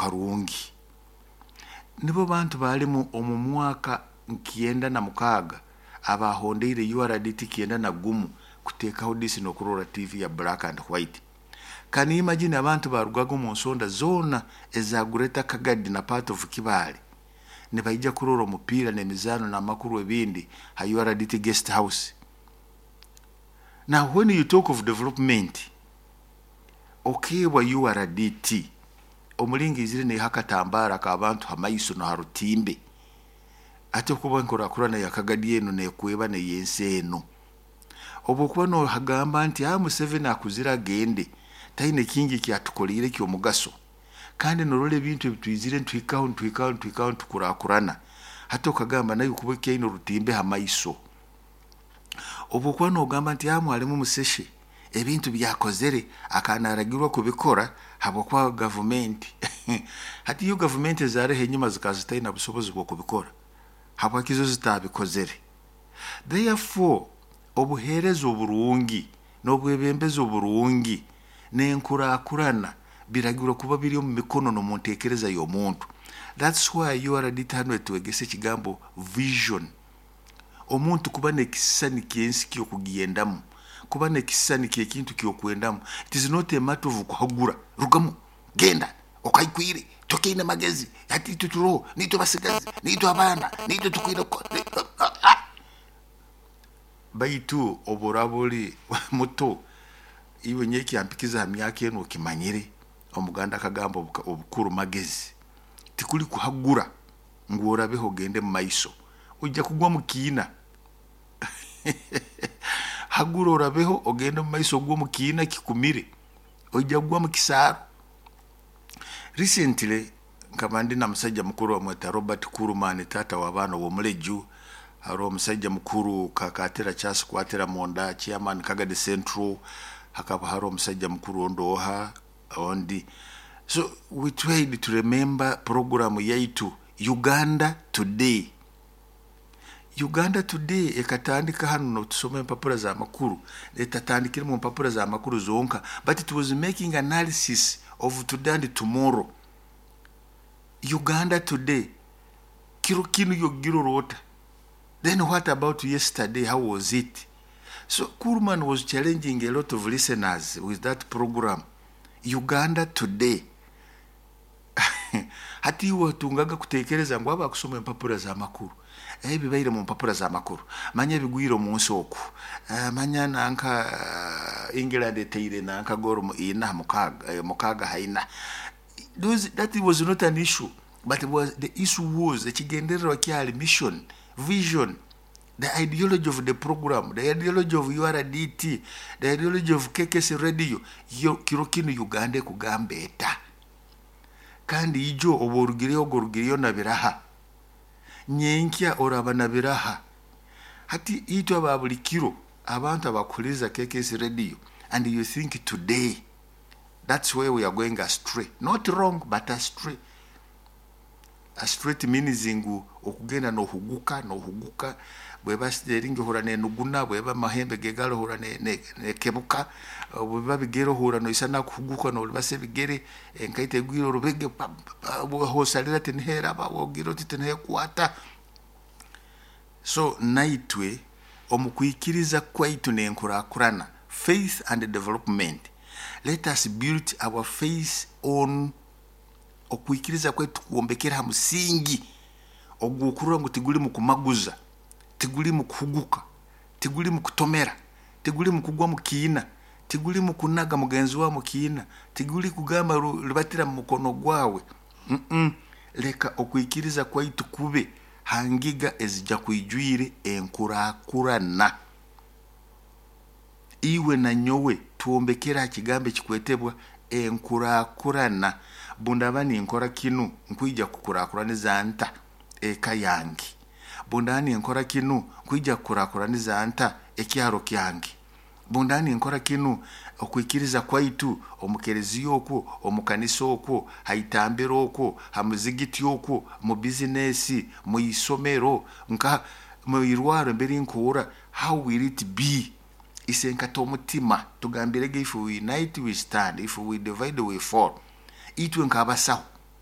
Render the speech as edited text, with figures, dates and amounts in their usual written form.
Karungi. Nibo bantu balimu omu mwaka 96 abahondeire URDT 91 kuteekaho disi n'okurora TV ya black and white. Can you imagine abantu barugaga omu nsonda zoona eza Greater Kagadi na part of Kibaale nibaija kurora omupiira n'emizaano n'amakuru ebindi ha URDT guest house? Now when you talk of development, okeebwa URDT omulingo eizire neiha akatambaara ak'abantu ha maiso na ha rutimbe. Ati okuba enkurakurana ya Kagadi enu nekweba n'eyensi enu. Obwokuba nohagamba nti Museveni akuzire agende, taine kingi ekyatukoleire eky'omugaso, kandi norora ebintu ebitwizire nituhikaho nituhikaho nituhikaho nitukurakurana, hati okagamba nawe kuba kyaine orutimbe ha maiso. Obwokuba nogamba nti Mwalimu Museshe ebintu byakozere akaba naragirwa kubikora habwokuba gavumenti. Hati yo gavumenti ezaariho enyuma zikaba zitaine busobozi bw'okubikora, habwaki zo zitabikozere? Therefore obuheereza oburungi n'obwebembezi oburungi n'enkurakurana biragirwa kuba biri omu mikono n'omu nteekereza y'omuntu. That's why URDT hanu etwegesa ekigambo vision. Omuntu kuba n'ekisisani ky'ensi ky'okugendamu, kuba n'ekisisani ky'ekintu ky'okwendamu. It is not a matter of kuhagura, rugamu, genda, okaikwire, tokiine magezi, hati itwe turoho, niitwe basigazi, niitwe abaana, niitwe tukwine kukora. Baitu obu oraaba oli muto, iwe nyowe ekyampikize ha myaka enu okimanyire, Omuganda akagamba obukuru magezi, tikuli kuhagura ngu orabeho ogende mu maiso, oija kugwa mu kiina. Hagura orabeho ogende mu maiso ogwe omu kiina kikumire, oija kugwa mu kisaaro. Recently nkaba ndi na musaija mukuru bamweta Robert Kuruman, taata w'abaana ow'omuleju. Haroho omusaija mukuru Kakatira Charles Kwatira Munda, chairman Kagadi Central. Hakaba haroho omusaija mukuru ondi oha ondi. So we tried to remember program yaitu Uganda Today. Uganda Today ekatandika hanu notusoma empapura z'amakuru, etatandikire mu mpapura z'amakuru zonka, but it was making analysis of today and tomorrow. Uganda Today, kiro kinu yogirora ota? Then what about yesterday, how was it? So Kuhlman was challenging a lot of listeners with that program, Uganda Today. Hati iwe otungaga kutekereza ngu aba kusoma empapura z'amakuru, ebibaire mu mpapura z'amakuru, manya ebigwire omu nsi oku, manya nanka England eteire nanka goal ina mukaaga, mukaaga ha ina. That was not an issue, but was, the issue was ekigendererwa kyali mission, vision, the ideology of the program, the ideology of URDT, the ideology of KKS Radio. Yo kiro kinu Uganda ekugamba eta? Kandi ijo obu orugireyo ogo orugireyo na biraha, nyenkya oraba na biraha. Hati itwe aba buli kiro abantu abakuhuliriza KKS Radio and you think today, that's where we are going astray. Not wrong, but astray. Astray means ngu okugenda nohuguka nohuguka, bweba steering ohura nenuguna, bweba amahembe gegalo ohura nekebuka, bweba bigere ohura noisana kuhuguka nolibasa ebigere, enkaito egwire orubege, hosalira tiniheraba, wogira oti tinihekwata. So naitwe omu kwikiriza kwaitu n'enkurakurana, faith and development, let us build our faith on okwikiriza kwaitu kwombekera ha musingi ogw'okurora ngu tiguli mu kumaguza, tiguli mu kuhuguka, tiguli mu kutomera, tiguli mu kugwa mu kiina, tiguli mu kunaga mugenzi wawe mu kiina, tiguli kugamba libatira mu mukono gwawe. Leka okwikiriza kwaitu kube ha ngiga ezija kwijwire enkurakurana. Iwe na nyowe twombekere ha kigambo ekikwetebwa enkurakurana. Bundaba ninkora kinu nkwija kukurakuraniza nta eka yange? Bundaba ninkora kinu nkwija kukurakuraniza nta ekyaro kyange? Bundaba ninkora kinu okwikiriza kwaitu omu kereziya okwo, omu kanisa okwo, ha itambiro okwo, ha muzigiti okwo, mu bizinesi, mu isomero, nka mu irwaro emberi nkuhurra, how will it be? Isenkata omutima tugambirege, if we unite we stand, if we divide we fall. Itwe nk'abasaho